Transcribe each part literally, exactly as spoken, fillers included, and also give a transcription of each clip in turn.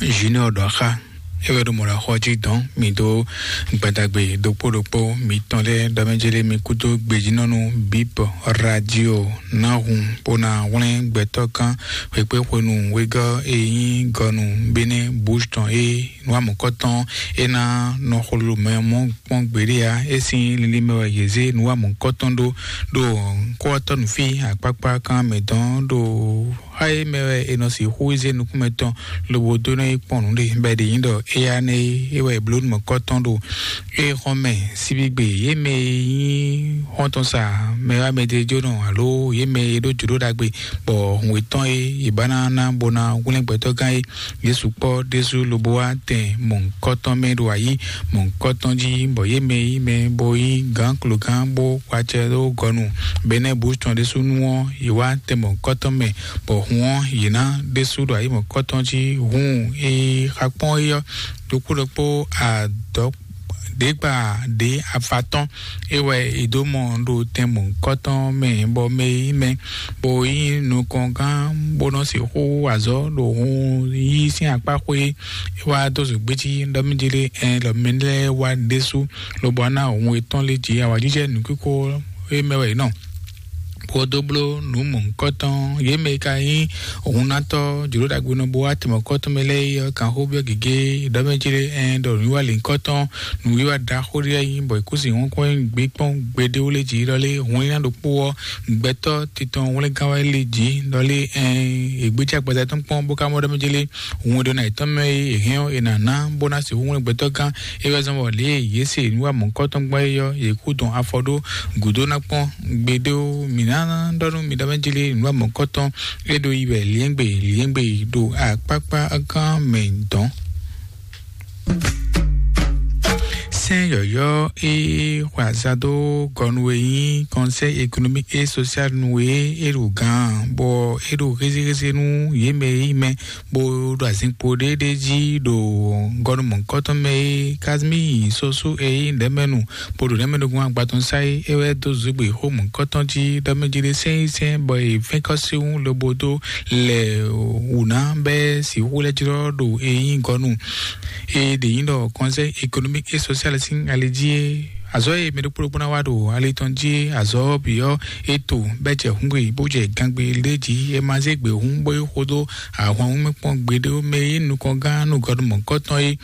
Junior ɖɔ xá, é wɛ ɖo mɔ̌ ɖo axɔ jí dɔn mì dó gbadagbe ɖokpó ɖokpó mitɔn lɛ́ɛ ɖɔ mɛ jélé mi kúdó gbejínɔ́nú bíp radio ná hun bó ná hwlɛ́n gbɛtɔ́ kán xwekpé xwenu wegɔ́ e nyí gɔnu Benin Bush tɔn é nú amɔ̌kɔ́tɔn é ná nɔ xwlú mɛ mɔ́ kpɔ́n gbeɖé ǎ. É sín linlin mɛ wɛ yě zé nǔ wa mɔ̌hunkɔtɔn ɖó, ɖo kɔ́tɔ́ nǔfí akpákpá kan mɛ dɔn ɖo xá e mɛ wɛ è nɔ sixú zé nukúnmɛ tɔn lobo dó nɔ yi kpɔ́n nǔ ɖe bɔ è ɖe nyí ɖɔ éyá nɛ́ é wɛ è bló nǔ mɔ̌hunkɔtɔn ɖo é xɔ́n mɛ síbígbe. Yě mɛ e nyí xɔ́ntɔn sa mɛ wá mɛ ɖé jónɔ alo yě mɛ e ɖó jǒɖó ɖagbe bɔ hǔn yětɔn e yě ba ná ná bó ná hwlɛ́n gbɛtɔ́gán é Yesu kpɔ́ ɖésú lobo wá tɛn mɔ̌hunkɔtɔn mɛ ɖo ayǐ mɔ̌hunkɔtɔn jí, bɔ yě mɛ yí mɛ bó yí gǎn klogán bó kpacɛ ɖó gɔnu. Benɛ́ bǔ tɔn ɖésú nú ɔ́, yě wá tɛn mɔ̌hunkɔtɔn mɛ, bɔ hun ɔ́, yě ná ɖésú ɖo ayǐ mɔ̌hunkɔtɔn jí. Hun e xa kpɔ́n é ɔ́, ɖokpó ɖokpó adɔ̌ ɖě gba ɖě afatɔ́n é wɛ è dó mɔ ɖo tɛn mɔ̌hunkɔtɔn mɛ, bɔ mɛ e nyí mɛ bó nyí nukɔngán bó nɔ sixú wa azɔ̌ ɖo hun yí sín akpá xwé é wá dó zǒgbé jí ɖɔ mì jlé ɛn ɖɔ mɛ lɛ́ɛ wá ɖésú lobo ná hun etɔ́n lé jí awǎjijɛ nǔkíkó é mɛ wɛ è nɔ bó dó bló nǔ mɔ̌hunkɔtɔn. Yě mɛ e ka nyí hunatɔ́ jǒɖó ɖagbenɔ bó wá tɛmɔkɔ́tɔn mɛ lɛ́ɛ é ɔ́, kan xó byɔ́ gěgé ɖɔ mɛ jlé ɛn ɖɔ nǔwiwa lěhunkɔtɔn nǔwiwa ɖaxó ɖé nyí bɔ è kú sin hɔ́nkɔ́n gbé kpɔ́n gbeɖéwú lé jí ɖɔ lé hun nyíná ɖokpó ɔ́, gbɛtɔ́ titɔn hwlɛ́ngán wɛ lé jí ɖɔ lé ɛn è gbéjé agbaza tɔn kpɔ́n bó ka mɔ ɖɔ mɛ jlé hun e ɖo ná yětɔn mɛ e è hɛn ɔ́, è nǎ ná bó ná sixú hwlɛ́n gbɛtɔ́ gán é wɛ zɔ́n bɔ lě e yě se nǔ wa mɔ̌hunkɔtɔn gbɔn é ɔ́, yě kú dɔn afɔ ɖó gǔdo ná kpɔ́n gbeɖé ó. Mǐ ná ɖɔ nú mi ɖɔ mɛ jlé nǔ wa mɔ̌hunkɔtɔn é ɖo yi wɛ liɛ́ngbè liɛ́ngbè ɖo akpákpá gán mɛ dɔn. Sɛ́n yɔ̌yɔ́ e xɔ azado gɔnu e nyí Conseil économique et social nu e é ɖo gǎn, bɔ é ɖo hézéhézé nú yě mɛ e nyí mɛ bó ɖo azinkpo ɖé ɖé jí ɖo gɔnu mɔ̌hunkɔtɔn mɛ e Kazimíi Sosú e nyí ɖɛ̌mɛnu bó ɖo ɖɛ̌mɛnúgbɔn agbatɔn sá é, é wɛ dó zǔgbè xó mɔ̌hunkɔtɔn jí ɖɔ mɛ jí ɖé sɛ́n yí sɛ́n bɔ è fɛ́n kɔ́ sín wú lobo dó lɛ wǔ ná bɛ́ sixú lɛ́ jlɔ́ ɖo e nyí gɔnu e ɖě nyí ɖɔ Conseil économique et social sín ali jí é. Azɔ̌ e mɛ ɖokpó ɖokpó ná wá ɖo ali tɔn jí é, azɔ̌ ɔ́ bǐ ɔ́, é to bɛ́ jɛ hǔngbe bó jɛ gangbe lé jí. É ma zé gbě hǔn bó yi xo dó ahwan wú mɛ kpɔ́n gbeɖé ó. Mɛ e nyí nukɔngán nú gɔnu mɔ̌hunkɔtɔn é,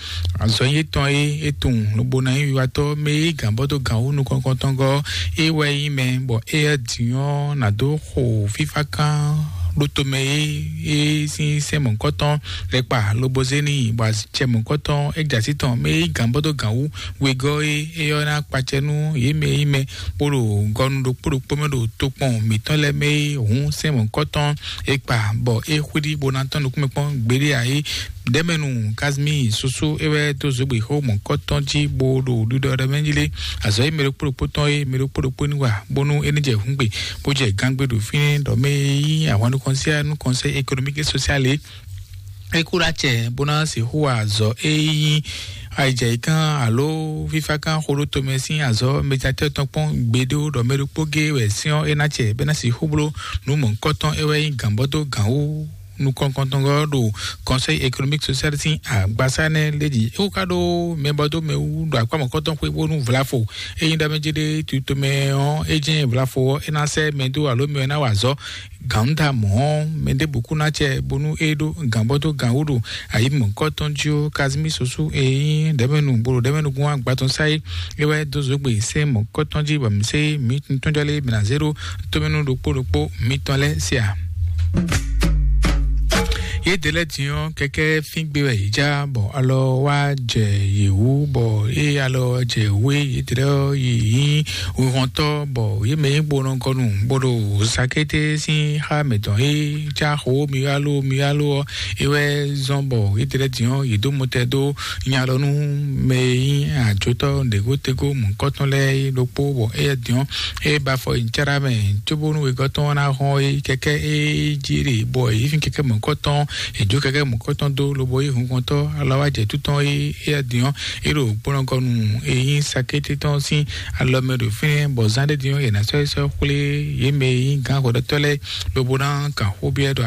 azɔ̌ nyí tɔn é, é tunwun lobo ná nyí wiwatɔ́. Mɛ e yí gǎn bɔ dó gǎn wú nukɔn nukɔntɔn gɔ́ é wɛ nyí mɛ, bɔ éyɛ́ din ɔ́ ná dó xo fífá kán ɖó tomɛ é, é sín sɛ́n mɔ̌hunkɔtɔn lɛ́ kpa lobo zé n'i, bɔ azicɛ mɔ̌hunkɔtɔn é jɛ así tɔn. Mɛ e yí gǎn bɔ dó gǎn wú wegɔ́ é, é ɔ́ ná kpacɛ nú yě mɛ e nyí mɛ bó ɖo gɔnu ɖokpó ɖokpó mɛ ɖo tokpɔn mǐtɔn lɛ́ɛ mɛ é hǔn sɛ́n mɔ̌hunkɔtɔn é kpa, bɔ é xwíɖí bó ná tɔ́n nukúnmɛ kpɔ́n gbeɖé ǎ é. Ɖɛ̌mɛnu Kazimíi Sosó é wɛ dó zǒgbè xó mɔ̌hunkɔtɔn jí bó ɖo ɖiɖɔ ɖɔ mɛ jí lé. Azɔ̌ e mɛ ɖokpó ɖokpó tɔn é, mɛ ɖokpó ɖokpó ní wa bónú é ní jɛ hǔngbe bó jɛ gangbe ɖo fínɛ́ ɖɔ mɛ e nyí ahwan nukɔn síá nukɔn sɛ́ économique et social é. É kú ɖó acɛ bó ná sixú wa azɔ̌ e nyí ayijɛyǐkán alo fífákán xo ɖó tomɛ sín azɔ̌ mɛjatɔ́ tɔn kpɔ́n gbeɖé ɖɔ mɛ ɖokpó géé wɛ sɛ́n ɔ́ é ná acɛ bɛ́ ná sixú bló nǔ mɔ̌hunkɔtɔn é wɛ nyí gǎnbɔ́ dó gǎn wú nukɔn kɔntɔngɔ́ ɖo Conseil économique social sín agbasá nɛ́ lé jí. É wú ká ɖó mɛ bɔ dó mɛ wú ɖo akpá mɔ̌kɔtɔn xwé bónú vlafo é nyí ɖɔ mɛ jí ɖé tutomɛ ɔ́, é jɛ́n vlafo ɔ́ é ná sɛ́ mɛ dó alo mɛ ɔ́ ná wa azɔ̌ gǎnda mɔ̌ ɔ́, mɛ ɖěbǔ kú ná acɛ bónú é ɖó gǎnbɔ́ dó gǎn wú ɖo ayǐ mɔ̌kɔtɔn jí ó. Kazimí Sosú e nyí ɖɛ̌mɛnu bó ɖo ɖɛ̌mɛnu gún agba tɔn sá é, é wɛ dó zǒgbè sɛ́n mɔ̌kɔtɔn jí bɔ mǐ sé mǐ tɔn jɔ lé mǐ ná zé ɖó tomɛnu ɖokpó ɖokpó mitɔn lɛ́ɛ se a? Yě ɖě lɛ́ɛ din ɔ́, kɛkɛ́ fín gbe wɛ yě já, bɔ alɔ wá jɛ yě wú, bɔ ée alɔ jɛ wú é, yě ɖě lɛ́ɛ ɔ́ yi nyí wihɔntɔ́, bɔ yě mɛ nyí gbonɔgɔnu, bó ɖo sakété sín xá mǐtɔn é já xo miyalo miyalo ɔ́, é wɛ zɔ́n bɔ yě ɖě lɛ́ɛ din ɔ́, yě dó mɔtɛ dó nya lɔ nú mɛ e nyí ajotɔ́ ɖěgótegó mɔ̌kɔtɔn lɛ́ɛ é ɖokpó, bɔ éyɛ́ din ɔ́, é ba afɔ nyi cáɖá mɛ, cóbónú wegɔ́ tɔn ná hɔn é kɛkɛ́ é jí ɖe, bɔ é fín kɛkɛ́ mɔ̌kɔtɔn, é jó kɛkɛ́ mɔ̌kɔtɔn dó, lobo é hunkɔntɔn alɔ wá jɛ tútɔn é éyɛ́ din ɔ́, é ɖo gbɔnɔgɔnu e nyí sakété tɔn sín alɔ mɛ ɖo fínɛ́, bɔ zán ɖé din ɔ́, yě ná sɔ́ é sɔ́ xwlé yě mɛ e nyí gǎn hwɛɖɔtɔ́ lɛ́ɛ, lobo ná kan xó byɔ́ ɖɔ